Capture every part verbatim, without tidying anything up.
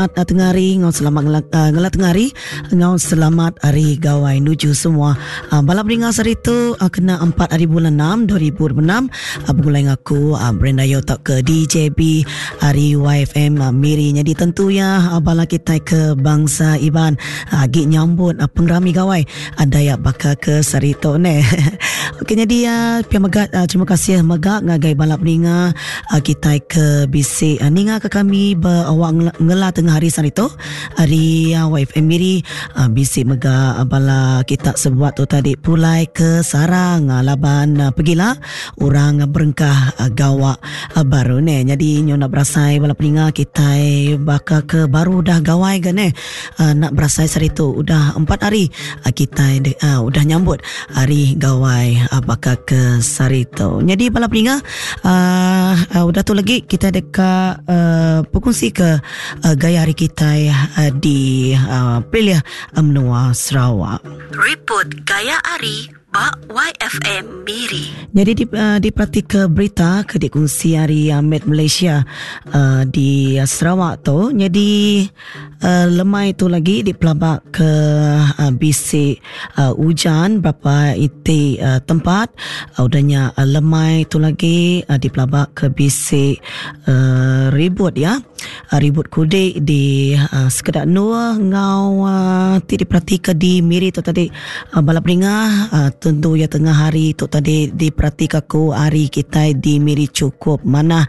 Tengah hari ngau selamat ngela, uh, ngela tengah hari ngau selamat hari gawai nuju semua. Uh, balap ringa sehari tu uh, kena empat hari bulan enam dua ribu dua puluh enam uh, bergulai ngaku uh, Brenda Yo tak ke D J B hari Y F M uh, Miri. Jadi tentu ya uh, bala kita ke bangsa Iban uh, agi nyambut uh, pengerami gawai uh, Dayak baka ke sehari tu ne. Okey, jadi uh, pia megat uh, terima kasih megak ngagai balap ringa uh, kita ke B C uh, ninga ke kami berawak ngela tengah hari sehari tu hari uh, Y F M Miri uh, bisi mega uh, bala kita sebuat tu tadi pulai ke sarang uh, laban uh, pergilah orang uh, berengkah uh, gawak uh, baru ne. Jadi nyo nak berasai bala peninga kita baka ke baru dah gawai ke ne uh, nak berasai sehari tu udah empat hari uh, kita uh, udah nyambut hari gawai uh, baka ke sehari tu. Jadi bala peninga uh, uh, udah tu lagi kita dekat uh, berkongsi ke uh, gaya hari kita uh, di uh, Pilih Menua Sarawak. Report Gaya Ari ba Y F M Miri. Jadi di, uh, diperhati ke berita ke dikongsi hari uh, Met Malaysia uh, di uh, Sarawak tu. Jadi uh, lemai tu lagi dipelabak ke uh, B C uh, hujan berapa iti uh, tempat. Uh, udahnya uh, lemai tu lagi uh, dipelabak ke B C uh, ribut ya. Uh, ribut kudik di uh, sekedak Nur ngau uh, ti diperhati ke di Miri tu tadi uh, balap ringah uh, tentu ya tengah hari tu tadi diperhati aku hari kita di Miri cukup mana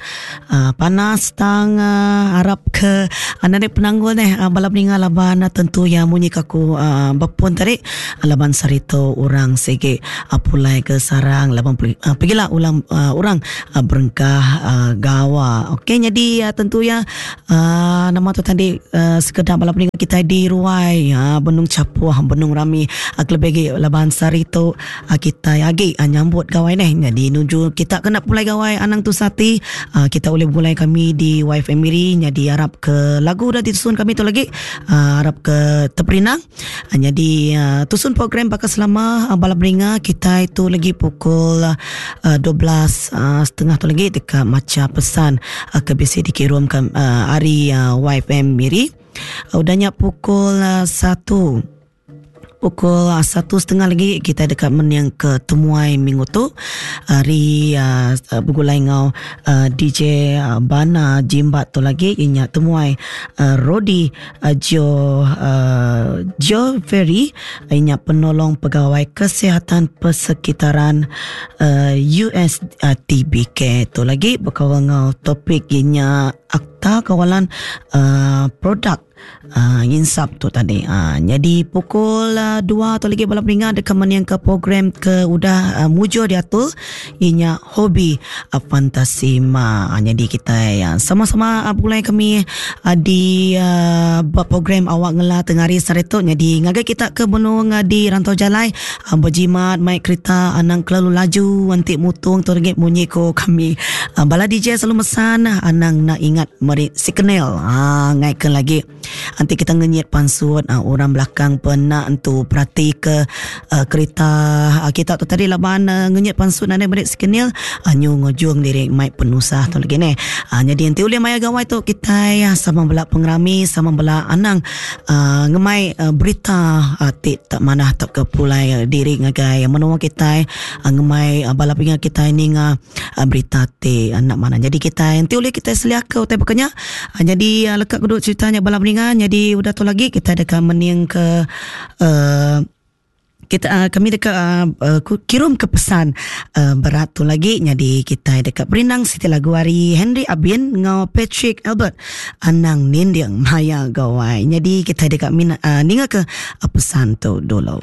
uh, panas tang uh, harap ke uh, narik penanggul neh uh, balap ringah laban uh, tentu ya munyi kaku uh, bepun tadi uh, laban sarito orang sege uh, pulai ke sarang laban uh, pergilah ulang uh, orang uh, berengkah uh, gawa. Okey, jadi uh, tentu ya Uh, nama tu tadi uh, sekedar balap ringah kita di Ruai uh, Benung Capuah Benung Rami uh, kelebih laban sarito uh, kita agi uh, nyambut gawai neh. Jadi nuju kita kena pulai gawai anang tu sati uh, kita boleh mulai kami di Y F M Miri. Jadi harap ke lagu dah disusun kami tu lagi uh, harap ke teperinang. Uh, jadi uh, tusun program bakal selama uh, balap ringah kita itu lagi pukul uh, dua belas uh, setengah tu lagi dekat maca pesan uh, ke B C dikirim ke uh, hari uh, Y F M Miri. Uh, udahnya pukul uh, satu pukul satu setengah lagi kita dekat meniang ke temuai minggu tu hari uh, bergulai ngau uh, D J uh, Bana Jimbat tu lagi inya temuai uh, Rodi uh, Jo uh, Jo Ferry inya penolong pegawai kesihatan persekitaran uh, U S T B K tu lagi berkawal ngau topik inya akta kawalan uh, produk Uh, insap tu tadi. Uh, jadi pukul uh, dua tu lagi balap ringan dekat mana yang ke program ke udah uh, mujur diatur inya hobi uh, fantasi ma. Uh, jadi kita uh, sama-sama uh, mulai kami uh, di uh, buat program awak ngela tengah hari sare tu. Jadi ngagai kita ke benung uh, di rantau jalai uh, berjimat mai kereta anang kelalu laju antik mutung tu lagi bunyi ko kami. Uh, bala D J selalu mesan anang nak ingat meri signal. Ah uh, ngaikkan lagi. Nanti kita ngenyit pansut uh, orang belakang pernah entu perhati ke uh, kereta uh, kita tu tadi laban uh, ngenyit pansut nane beri signal uh, nyu ngojung diri mai penusah tu lagi ne. Uh, jadi nanti oleh maya gawai tu kita ya sama bela pengerami sama bela anang uh, ngemai uh, berita uh, tik tak mana tak ke pulai uh, diri ngagai menua kita uh, ngemai uh, bala pinga kita ni nga uh, berita tik uh, nak mana. Jadi kita nanti oleh kita seliak ke utai pokoknya. Uh, jadi uh, lekat kedua ceritanya bala peningan. Jadi udah tu lagi kita dekat mening ke uh, kita uh, kami dekat uh, uh, kirim ke pesan uh, berat tu lagi. Jadi kita dekat Berindang Siti lagu hari Henry Abin ngau Patrick Albert Anang Nindiang Maya Gawai. Jadi kita dekat mina, uh, ninga ke uh, pesan tu dulu.